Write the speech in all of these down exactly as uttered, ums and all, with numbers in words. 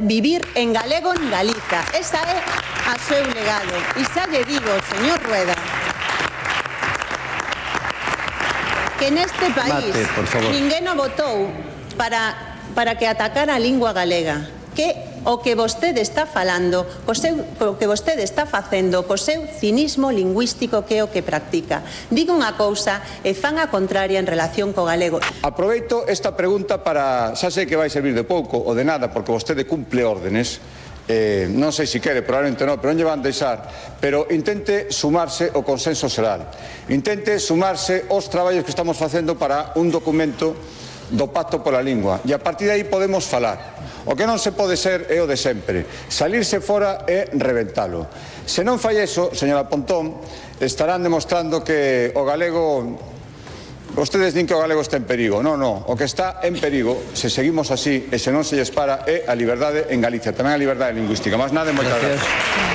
Vivir en galego en Galiza. Esa é a seu legado. E xa lle digo, señor Rueda, que neste país Mate, ninguén o votou para, para que atacara a lingua galega. Que o que vostede está falando, co, seu, co que vostede está facendo, co seu cinismo lingüístico que é o que practica. Diga unha cousa e fan a contraria en relación co galego. Aproveito esta pregunta para, xa sei que vai servir de pouco ou de nada, porque vostede cumple órdenes, eh, non sei se quere, probablemente non, pero non lle van deixar, pero intente sumarse ao consenso xeral, intente sumarse aos traballos que estamos facendo para un documento do Pacto pola Lingua, e a partir de aí podemos falar. O que non se pode ser é o de sempre, salirse fora e reventalo. Se non fai eso, señora Pontón, estarán demostrando que o galego, vostedes din que o galego está en perigo. Non, non, o que está en perigo, se seguimos así e se non se lles para, é a liberdade en Galicia, tamén a liberdade lingüística. Más nada, moitas gracias.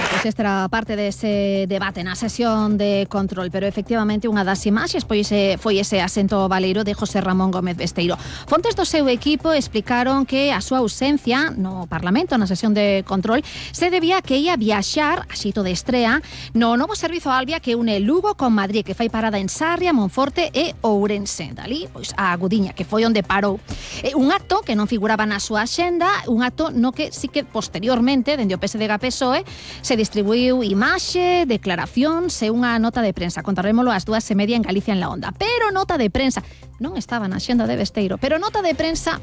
Pois esta era parte dese debate na sesión de control, pero efectivamente unha das imaxes pois foi ese asento baleiro de José Ramón Gómez Besteiro. Fontes do seu equipo explicaron que a súa ausencia no Parlamento, na sesión de control, se debía a que ia viaxar a xito de estrea no novo servizo Albia que une Lugo con Madrid, que fai parada en Sarria, Monforte e Ourense. Dali, pois a Gudiña, que foi onde parou. E un acto que non figuraba na súa axenda, un acto no que sí que posteriormente, dende o P S D G P S O E, se distribuiu imaxe, declaracións e unha nota de prensa. Contarrémolo ás dúas e media en Galicia en la Onda. Pero nota de prensa, non estaba na axenda de Besteiro, pero nota de prensa,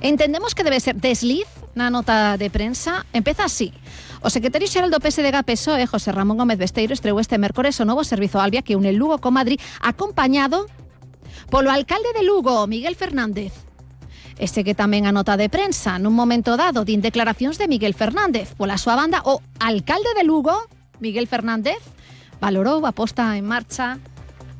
entendemos que debe ser desliz na nota de prensa. Empeza así. O secretario xeral do P S D G P S O E, José Ramón Gómez Besteiro, estreou este mércores o novo servizo Albia que une Lugo con Madrid, acompañado polo alcalde de Lugo, Miguel Fernández. Ese que tamén a nota de prensa, nun momento dado, din declaracións de Miguel Fernández. Pola súa banda, o alcalde de Lugo, Miguel Fernández, valorou a posta en marcha,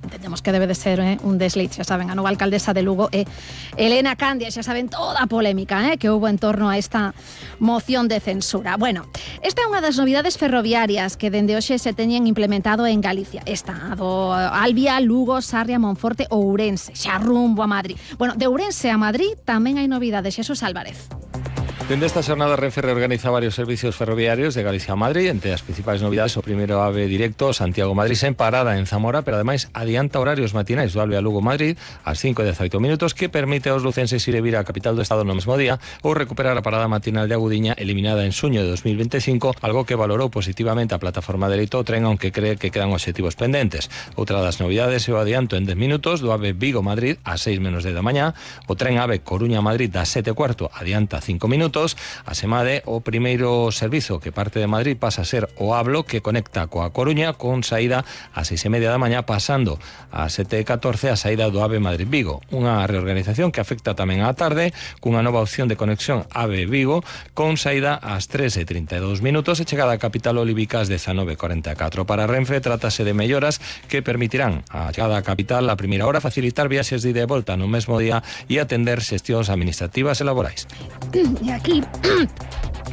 entendemos que debe de ser eh, un desliz, xa saben, a nova alcaldesa de Lugo é eh, Elena Candia, xa saben toda a polémica eh, que houve en torno a esta moción de censura. Bueno, esta é unha das novidades ferroviarias que dende hoxe se teñen implementado en Galicia. Esta, do Albia, Lugo, Sarria, Monforte ou Ourense, xa rumbo a Madrid. Bueno, de Ourense a Madrid tamén hai novidades. Xesús Álvarez. Dende esta xornada, Renfe reorganiza varios servicios ferroviarios de Galicia a Madrid. Entre as principais novidades, o primeiro AVE directo Santiago-Madrid sen parada en Zamora, pero ademais adianta horarios matinais do AVE a Lugo-Madrid ás cinco e dezaoito minutos, que permite aos lucenses ir e vir á capital do Estado no mesmo día ou recuperar a parada matinal de Agudiña eliminada en xuño de dos mil veinticinco, algo que valorou positivamente a plataforma de Leito Tren, aunque cree que quedan obxectivos pendentes. Outra das novidades é o adianto en dez minutos do AVE Vigo-Madrid ás seis menos dez da mañá, o tren AVE Coruña-Madrid das sete e cuarto adianta cinco minutos. A SEMADE, o primeiro servizo que parte de Madrid pasa a ser o Hablo, que conecta coa Coruña con saída ás seis e media da mañá, pasando ás sete e catorce a saída do AVE Madrid-Vigo. Unha reorganización que afecta tamén á tarde, cunha nova opción de conexión AVE-Vigo, con saída ás tres e trinta e dous minutos e chegada á capital olívica ás dezanove e corenta e catro. Para Renfe, trátase de melloras que permitirán a chegada á capital a primeira hora, facilitar viaxes de ida e volta no mesmo día e atender xestións administrativas e laborais. E aquí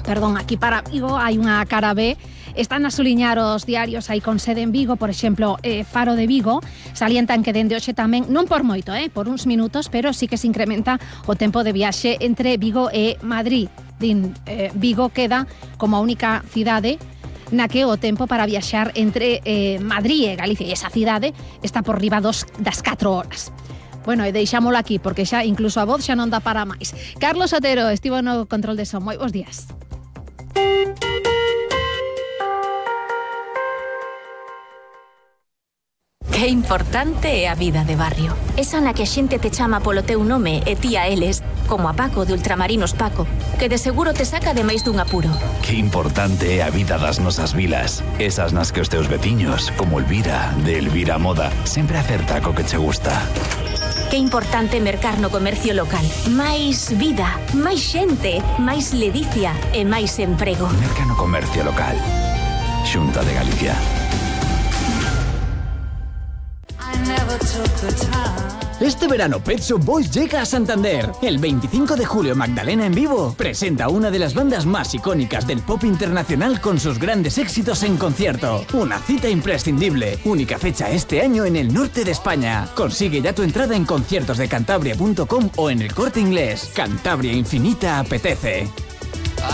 Perdón, aquí para Vigo hai unha cara B. Están a suliñar os diarios aí con sede en Vigo, por exemplo, eh, Faro de Vigo, salientan que dende hoxe tamén, non por moito, eh, por uns minutos, pero sí que se incrementa o tempo de viaxe entre Vigo e Madrid. Din, eh, Vigo queda como a única cidade na que o tempo para viaxar entre eh, Madrid e Galicia e esa cidade está por riba dos, das catro horas. Bueno, e deixámolo aquí, porque xa incluso a voz xa non dá para máis. Carlos Otero estivo no control de son. Moi bons días. Que importante é a vida de barrio. Esa na que a xente te chama polo teu nome e ti a eles, como a Paco de Ultramarinos Paco, que de seguro te saca de máis dun apuro. Que importante é a vida das nosas vilas. Esas nas que os teus veciños, como Elvira, de Elvira Moda, sempre acerta co que che gusta. Que importante mercar no comercio local. Máis vida, máis xente, máis ledicia e máis emprego. Merca no comercio local. Xunta de Galicia. Este verano Pet Shop Boys llega a Santander. El veinticinco de julio Magdalena en vivo presenta una de las bandas más icónicas del pop internacional con sus grandes éxitos en concierto. Una cita imprescindible. Única fecha este año en el norte de España. Consigue ya tu entrada en conciertos de cantabria punto com o en el Corte Inglés. Cantabria Infinita apetece.